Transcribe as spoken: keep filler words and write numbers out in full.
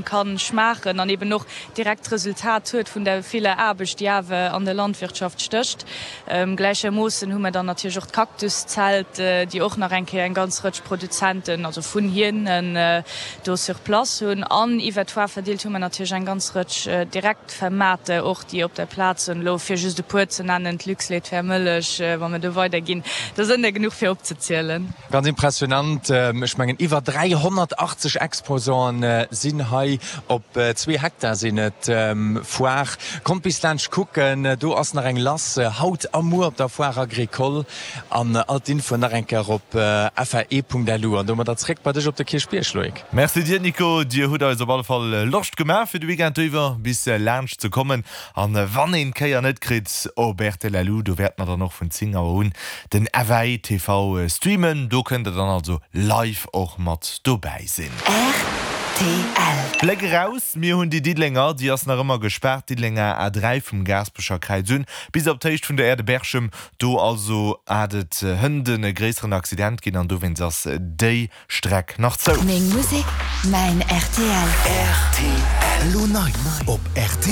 Kann schmaachen an eben och direkt d'Resultat huet vun der viller Aarbecht, déi awer an der Landwirtschaft stécht. Gläichermoossen hu mer dann natierlech och d'Cactuszelt, déi och nach eng Kéier eng ganz Rëtsch Produzenten, also vun hinnen do sur place hunn. An iwwer d'Foire verdeelt hu mer natierlech eng ganz Rëtsch Direktvermaarter och, déi op der Plaz sinn, elo fir just e puer ze nennen, d'Luxlait, d'Fair Mëllech, wa mer do weiderginn, do sënn der genuch fir opzezielen. Ganz impressionant, ech mengen iwwer dräihonnertachtzeg Exposanten sinn hei op zwee Hektar sinn et. Foire, kommt bis laanscht kucken, do ass nach eng lass haut a muer op der Foire Agricole an all d'Infoen nach eng Kéier op F A E Punkt L U. An domadder zréck bei dech op de Kierchbierg, Loïc. Merci dir Nico, dir hutt eis op alle Fall Loscht gemaach fir de Weekend iwwer bis laanscht ze kommen. An wann een d'Kéier net kritt op R T L Lu, do wäerte mer dann och vun zéng Auer un den F A E T V streamen. Do kënnt der dann also live och mat dobäi sinn. R T L. Bléck eraus, Mir hunn déi Diddelenger, déi ass nach ëmmer gespaart, Diddelenger A dräi vum Gaasperecher Kräiz un bis op d'Héicht vun der Aire de Berchem. Do also hat et hënt e gréisseren Accident ginn an dowéinst ass déi Streck nach zou. Meng Musek, mäin R T L. R T L. Elo nei op R T L.